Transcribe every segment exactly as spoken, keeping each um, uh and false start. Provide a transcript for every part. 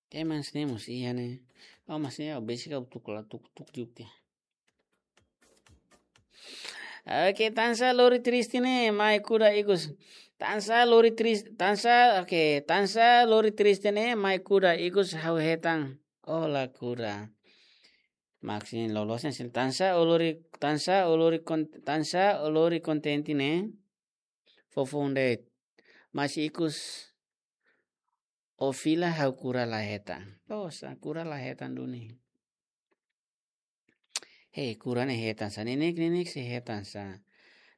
Teman sini mós iha ne'e. Oh, maksudnya, oh, basic kau tuk la tuk, tuk juk dia. Oke, tansá lori triste ne'e, mai kuda ikus. Tansá lori triste, tansá, oke, tansá lori triste ne'e, mai kuda ikus ha'u hetan. Oh, la kuda. Maksudnya loloos ne'e, tansá o lori, tansá o lori kon-, tansá o lori kontente ne'e. Foufoun de'it. Mas ikus o fila ha'u kura la hetan. Loos, kura la hetan duni. He, kura ne'e hetan sá, neineik, neineik sei hetan sá.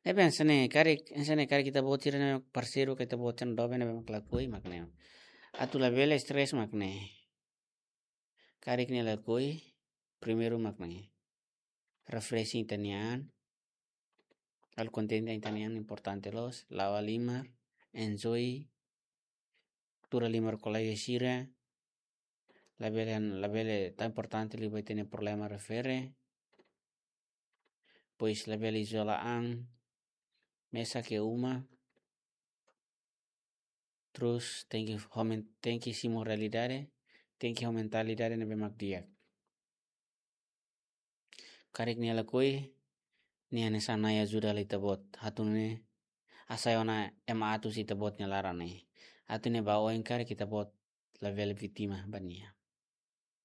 Ne'ebé hanesan ne'e, karik, hanesan ne'e karik ita-boot sira ne'e parseiru ka ita-boot sira ne'e doben ne'ebé mak lakohi mak ne'e. Atu labele stress mak ne'e. Karik nia lakohi, primeiru mak ne'e. Refreshing ita-nia an. Halo kontente ita-nia an importante loos, la'o halimar, enjoy, tuur halimar kolega sira, labele, labele tan importante liu ba ita-nia problema refere, depois labele izola an, mesak iha uma, terus tenke homen-, tenke simu realidade, tenke ho mentalidade ne'ebé mak di'ak. Karik nia lakohi, nia hanesan Nai ajuda hela ita-boot. Atu nune'e hasai ona ema atus iha ita-boot nia laran ne'e. Atu nune'e ba oin karik ita-boot labele vítima ba nia.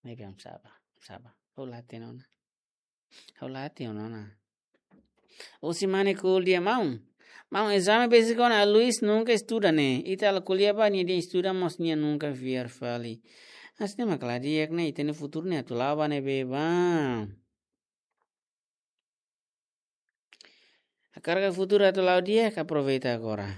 Ne'ebé hanesan sá, hanesan sá. Ha'u la hatene ona. Ha'u la hatene ona. Husi mane ko'alia maun. Maun, ezame besik ona Luis nunka estuda ne'e. Ita halo ko'alia ba nia dehan estuda mós nia nunka fiar fali. Hanesan ne'e mak la di'ak ne'e, ita-nia futuru ne'e atu la'o ba ne'ebé bá. Hakarak futuru atu la'o di'ak, aproveita agora.